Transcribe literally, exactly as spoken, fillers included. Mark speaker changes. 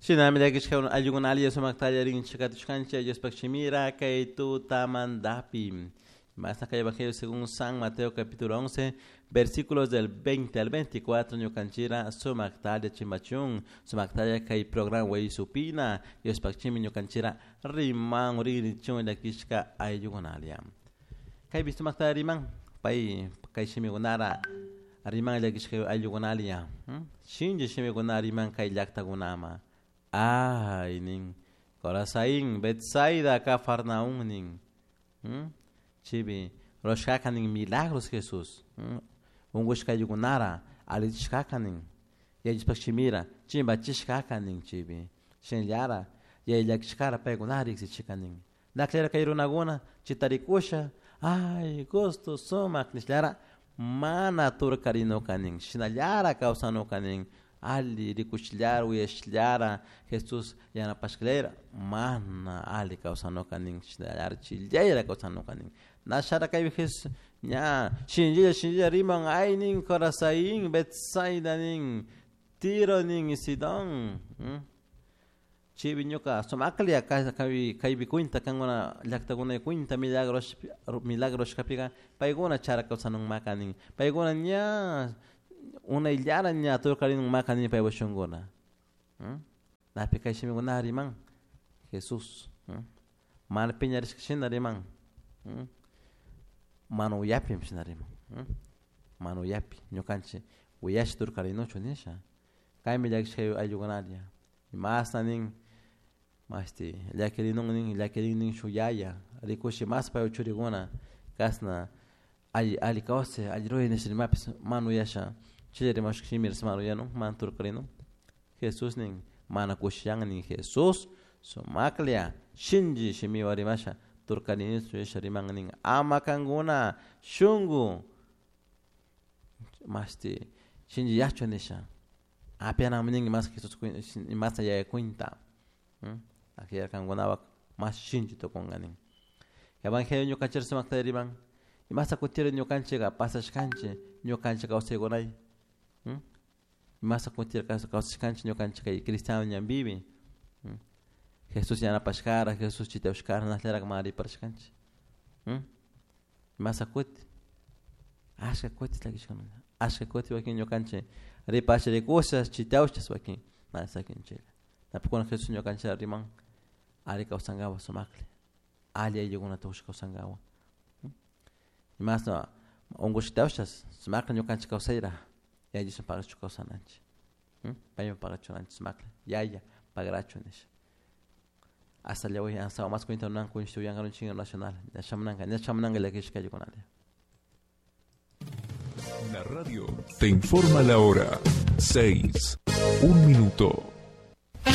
Speaker 1: Shinami llakishka ayllukuna sumaktalla rinchikatushkanchik Diospaq shimira kay tutamantapi. Más acá Evangelio según San Mateo capítulo once, versículos del veinte al veinticuatro, ñukanchira sumaktalla chimbachun, sumaktalla kay programa way supina, Diospaq shimi ñukanchira riman ririchun llakishka ayllukunalia. Kaypi sumaktalla riman, pay kay shimikunara riman llakishka ayllukunalia. Shinchi shimikuna riman kay llaktakunama. Ay, nin, Corazaín, Betsaida, Cafarnaún, nin. Chibi, rurashkaka nin milagros Jesús. Ungushka ayllukunara, allichishkaka nin. Yachishpak shimira, chimbachishkaka nin chibi. Shinllara, yayllakishkara paykunara riksichika nin. Naklera kay runakuna, chitarikusha, ay, gusto, sumak, nishllara, mana turkarinuka nin. Shinallara kawsanuka nin. Ali rikushillara, uyashillara, Jesús yanapashkalera, mana ali kawsanuka nin, shinallara chillayra kawsanuka nin. Nashara kaypi Jesús, ña, shinllilla, shinllilla riman, ay nin, Corazaín, Betsaida nin, Tiro nin, Sidón. Chibi ñuka, sumaklia kaypi kaypi cuenta, kankuna llaktakuna cuenta, milagros, milagros kapiga, paykuna chara kawsanunmaka nin, paykuna ña, unayllara ña turkarinunmaka nin paypa shunkuna. Napi kay shimikuna riman, Jesús. Mana piñarishka shina riman. Mana uyapi shina riman. Mana uyapi, ñukanchik uyash turkarinuchu nisha. Kaymi llakishka ayllukunalla. Masna nin, mashti llakirinun nin, llakirin nin shuk yaya, rikushi mas pay churikuna, kasna alli alli kawsay, alli ruray nisha rimapis mana uyasha, chilla rimashka shimiras mana uyanun, mana turkarinun. Jesús nin, mana kushiyan nin Jesús, sumaklla, shinchi shimiwan rimasha, turkarinichu nisha riman nin, ama kankuna shunku, mashti shinchi yachu nisha. Apianami ninki mas Jesús masna yaya cuenta. Akilla kankunapak mas shinchi tukunka nin. Evangelio ñukanchik sumakta riman, imasta kutiri ñukanchika pasashkanchik, ñukanchik kawsaykunay. Imasta kutiri kawsashkanchik ñukanchik kay cristiano ñanpipi. Jesús yanapashkara, Jesús chitawashkara, nasllarak mana riparashkanchik. Imasta kuti, ashka kuti llakishkuna, ashka kuti wakin ñukanchik ripasha rikusha, chitawshas wakin, mana sakinchiklla. Napikuna Jesús ñukanchik riman, alli kawsankapak sumaklla, alli ayllukunata ushka kawsankapak. Imasna unkushkatawshas, sumaklla ñukanchik kawsayra, yaya Diosman pagachu kawsananchik. Payman pagachunanchik sumaklla, yaya pagrachu nisha. Hasta el día de hoy, hasta más cuenta unan constituyan un chingo nacional. Ya chamananga, ya chamananga llakishka ayllukunalla.
Speaker 2: La radio te informa la hora. Seis, un minuto.